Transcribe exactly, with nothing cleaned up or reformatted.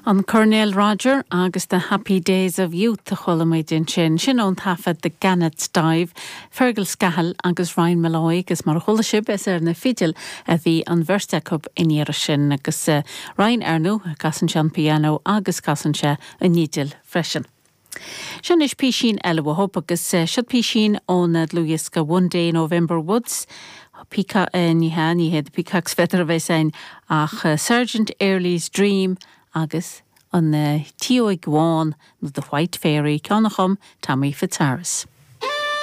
An Coirnéal Roger agus the Happy Days of Youth a chuala muid ansin sin ón taifead The Gannet's Dive, Fergal Scahill agus Ryan Molloy agus mar chuala sibh is ar na fidil a bhí an bheirt acu an iarraidh sin agus uh, Ryan ar ndóigh casann sé an piano agus casann sé an fhidil freisin. Sin is písín eile uathu agus uh, seo písín ón dlúthdhiosca One Day November Woods. Píca uh, ní ha ní hé Peacock's Feather a bheith sein ach uh, Sergeant Early's Dream agus an uh, Tióig Bhán nó the White Fairy ceann a chum Tommy Fitzharris.